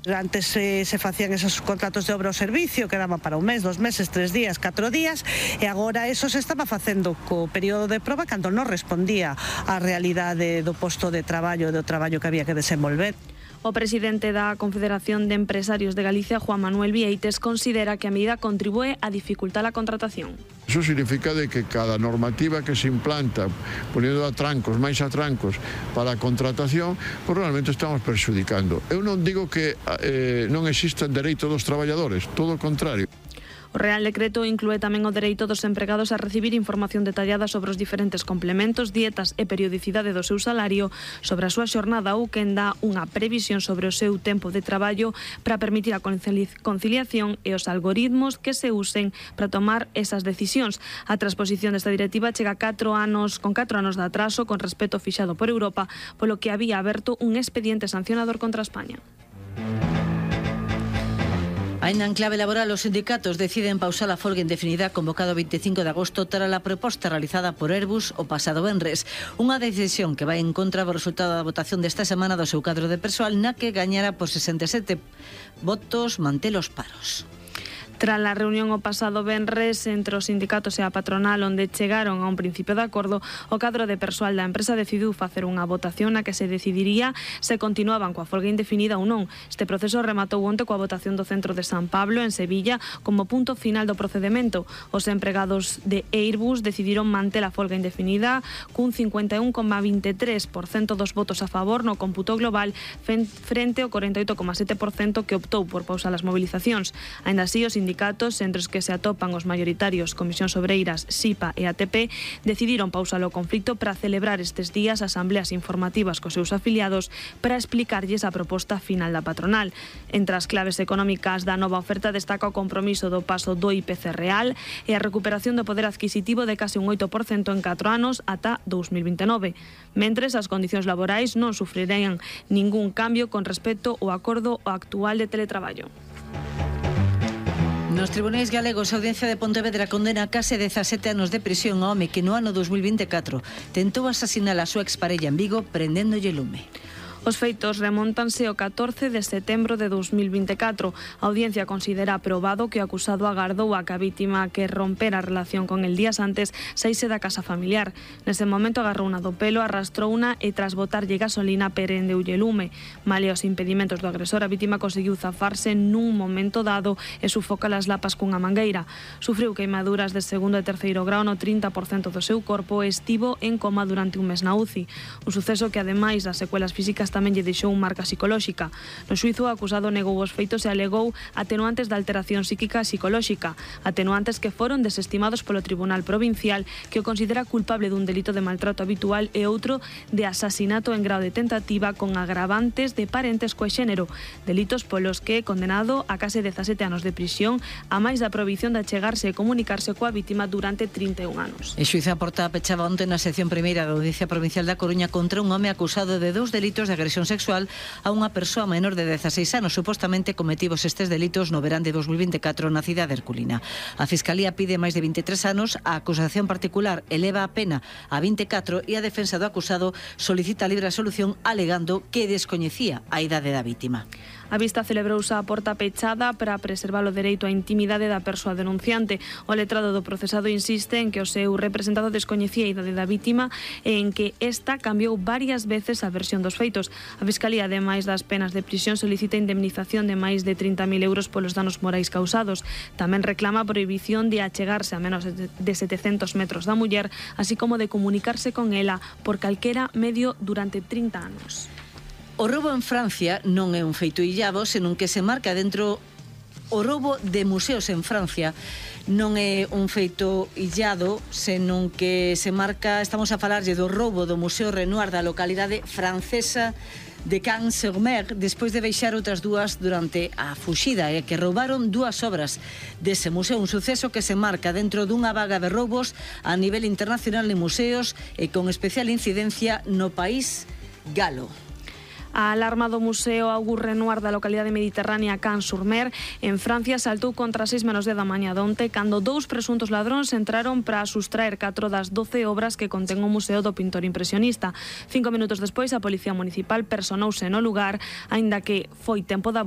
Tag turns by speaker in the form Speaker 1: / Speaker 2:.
Speaker 1: Antes se facían esos contratos de obra ao servicio que daban para un mes, 2 meses, 3 días, 4 días e agora eso se estaba facendo co período de proba cando non respondía á realidade do posto de traballo, do traballo que había que desenvolver.
Speaker 2: O presidente da Confederación de Empresarios de Galicia, Juan Manuel Vieites, considera que a medida contribúe a dificultar a contratación.
Speaker 3: Eso significa de que cada normativa que se implanta, poniendo atrancos, máis atrancos para a contratación, pues realmente estamos perxudicando. Eu non digo que non exista dereito dos traballadores, todo o contrario.
Speaker 2: O Real Decreto inclúe tamén o dereito dos empregados a recibir información detallada sobre os diferentes complementos, dietas e periodicidade do seu salario, sobre a súa xornada ou quen dá unha previsión sobre o seu tempo de traballo para permitir a conciliación e os algoritmos que se usen para tomar esas decisións. A transposición desta directiva chega con 4 anos de atraso con respecto fixado por Europa, polo que había aberto un expediente sancionador contra España.
Speaker 4: Ainda en clave laboral, os sindicatos deciden pausar a folga indefinida convocado o 25 de agosto tras a proposta realizada por Airbus o pasado venres. Unha decisión que vai en contra do resultado da votación desta semana do seu cadro de persoal, na que gañara por 67 votos manter os paros.
Speaker 2: Tras a reunión o pasado venres entre os sindicatos e a patronal onde chegaron a un principio de acordo, o cadro de persoal da empresa decidiu facer unha votación na que se decidiría se continuaban coa folga indefinida ou non. Este proceso rematou onte coa votación do centro de San Pablo en Sevilla como punto final do procedimento. Os empregados de Airbus decidiron manter a folga indefinida cun 51,23% dos votos a favor no cómputo global frente ao 48,7% que optou por pausar as movilizacións. Aínda así, os sindicatos, entre os que se atopan os maioritarios Comisións Obreiras, SIPA e ATP, decidiron pausar o conflito para celebrar estes días asambleas informativas cos seus afiliados para explicarlles a proposta final da patronal. Entre as claves económicas da nova oferta destaca o compromiso do paso do IPC real e a recuperación do poder adquisitivo de case un 8% en 4 anos ata 2029. Mentres, as condicións laborais non sufrirían ningún cambio con respecto ao acordo actual de teletraballo.
Speaker 4: Nos tribunais galegos, a Audiencia de Pontevedra condena a case 17 anos de prisión ao home que no ano 2024 tentou asasinar a súa exparella en Vigo prendéndolle lume.
Speaker 2: Os feitos remóntanse ao 14 de setembro de 2024. A audiencia considera aprobado que o acusado agardou a que a vítima que rompera a relación con el días antes saíse da casa familiar. Nese momento agarrouna do pelo, arrastrouna e tras botarlle gasolina prendeulle lume. Malia os impedimentos do agresor, a vítima conseguiu zafarse nun momento dado e sufoca as lapas cunha mangueira. Sufriu queimaduras de segundo e terceiro grao no 30% do seu corpo e estivo en coma durante un mes na UCI. Un suceso que, ademais das secuelas físicas, tamén lle deixou marca psicolóxica. No xuízo, o acusado negou os feitos e alegou atenuantes da alteración psíquica e psicolóxica, atenuantes que foron desestimados polo Tribunal Provincial, que o considera culpable dun delito de maltrato habitual e outro de asasinato en grao de tentativa con agravantes de parentes co xénero, delitos polos que é condenado a case 17 anos de prisión, a máis da prohibición de achegarse e comunicarse coa vítima durante 31 anos.
Speaker 4: O xuízo a porta pechaba onte na sección primeira da Audiencia Provincial da Coruña contra un home acusado de 2 delitos de agresión sexual a unha persoa menor de 16 anos, supostamente cometidos estes delitos no verán de 2024 na cidade herculina. A Fiscalía pide máis de 23 anos, a acusación particular eleva a pena a 24 e a defensa do acusado solicita libre absolución alegando que descoñecía a idade da vítima.
Speaker 2: A vista celebrouse a porta pechada para preservar o dereito á intimidade da persoa denunciante. O letrado do procesado insiste en que o seu representado descoñecía a idade da vítima e en que esta cambiou varias veces a versión dos feitos. A Fiscalía, ademais das penas de prisión, solicita indemnización de máis de 30.000 euros polos danos morais causados. Tamén reclama a prohibición de achegarse a menos de 700 metros da muller, así como de comunicarse con ela por calquera medio durante 30 anos.
Speaker 4: O roubo en Francia non é un feito illado, senón que se marca dentro. O roubo de museos en Francia non é un feito illado, senón que se marca, estamos a falarlle do roubo do Museo Renoir da localidade francesa de Cannes-sur-Mer, despois de deixar outras dúas durante a fuxida, e que roubaron 2 obras dese museo, un suceso que se marca dentro dunha vaga de roubos a nivel internacional en museos e con especial incidencia no país galo.
Speaker 2: A alarma do Museo Auguste Renoir da localidade mediterránea Cannes-sur-Mer en Francia saltou contra 6 menos 10 da mañá onte cando 2 presuntos ladróns entraron para sustraer 4 das 12 obras que contén o Museo do pintor impresionista. 5 minutos despois, a Policía Municipal personouse no lugar, aínda que foi tempo da